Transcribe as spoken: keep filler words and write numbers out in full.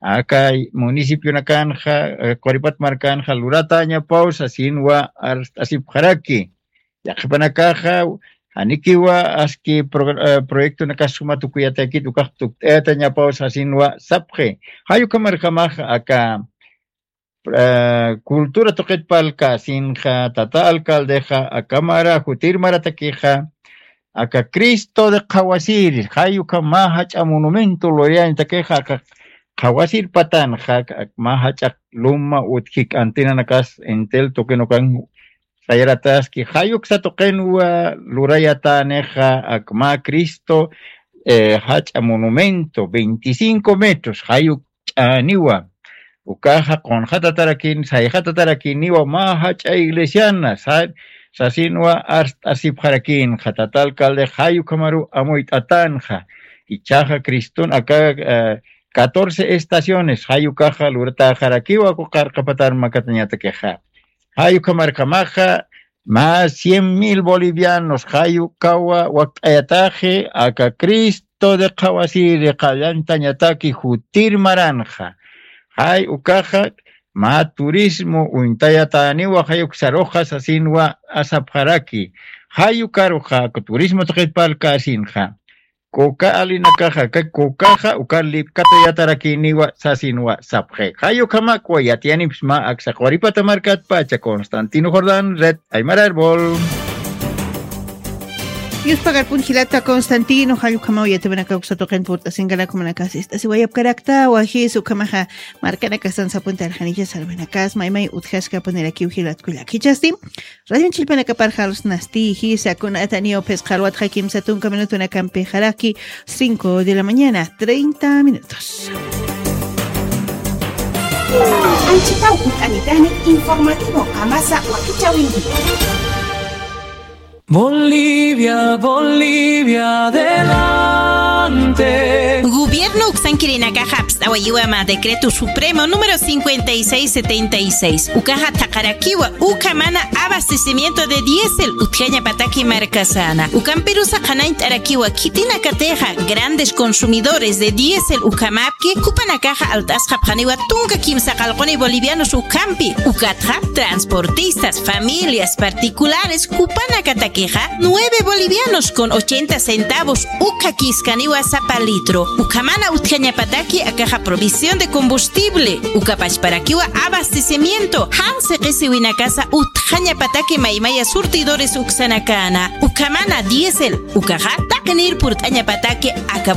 aka municipionakanxa, eh, Quripat markanxa luratäñapaw sasinwa arst'asipxaraki. Yaqhipanakaxa janikiwa aski progr-, eh, proyectonakas suma tukuyatakit ukax tukt'ayatañapaw sasinwa sapxi. Jay ukhamarjamax aka, eh, cultura tuqit parlkäsinxa, tata alcaldexa, aka mara, jutir maratakixa, aka Cristo de Qhawasiri, jay ukham mä jach'a monumento lurayañatakixa, aka Qhawasir patanxa, ak mä jach'a luma utjik antenanakas Entel tuqin ukan sayarataski, jay uksa tuqinwa lurayatänixa, ak mä Cristo, eh, jach'a monumento, veinticinco metros, jay uk ch'aniwa. Ukaxa qunxatatarakini, sayxatatarakiniwa, mä jach'a iglesiana, sa-, sasinwa arst'asipxarakinxa, tata alcalde, jay ukhamaru amuyt'atanxa. Jichhaxa Criston aka, eh, catorce estaciones, jay ukaxa luratäxarakiwa, uka qarqapatar makatañatakixa. Jay ukhamarjamaxa, mä cien mil bolivianos, jay ukawa wakt'ayataxi, aka Cristo de Qhawasiri qallantañataki jutir maranxa. Jay ukaxa, mä turismo uñtayatäniwa, jay uksaruxa sasinwa sapxaraki. Jay ukaruxa, aka turismo tuqit parlkäsinxa. Kuka alinakaxa, aka kukaxa, uka lipkatayatarakiniwa sasinwa sapxi. Jay ukhamakwa yatiyanipxsma aksa Quripata markatpacha Constantino Jordán, Red Aymara Árbol. Yuspagarpun jilata Constantino, jay ukhamaw yatiyanipxsma uksa tuqin purt'asinkanakumanakasa ist'asiwayapkarakta, wajis ukhamaxa markanakasan sapuntarxanicha sarwinakas, maymay utjaskapunirakiw jilatkullak. Jichhasti, Radio Chilpanakaparxa alusnasti, jisa kunataniw phisqa alwatxa kimsa tunka minutunakampi jaraki, cinco de la mañana, treinta minutos. Anchitaw ut'anitani informativo qamasa wakichäwinki. Bolivia, Bolivia, adelante. Gobierno uksankirinakaxa apst'awayiwa mä decreto supremo número cincuenta y seis setenta y seis. Ukaxa thaqharakiwa ukhamana abastecimiento de diésel utjañapataki markasana. Ukampirusa qhanañt'arakiwa khitinakatixa grandes consumidores de diésel ukhamäpki, jupanakaxa alt'asxapxaniwa tunka kimsa qallquni bolivianos ukhampi. Ukatxa transportistas, familias particulares jupanakatakixa nueve bolivianos con ochenta centavos ukhakiskaniwa sapa litro. Ukhamana utjañapataki akaxa provisión de combustible, uka pachparakiwa abastecimiento, jan siqisiwinakasa utjañapataki maymaya surtidores uksanakana. Ukhamana diésel, ukaxa taqinir purt'añapataki aka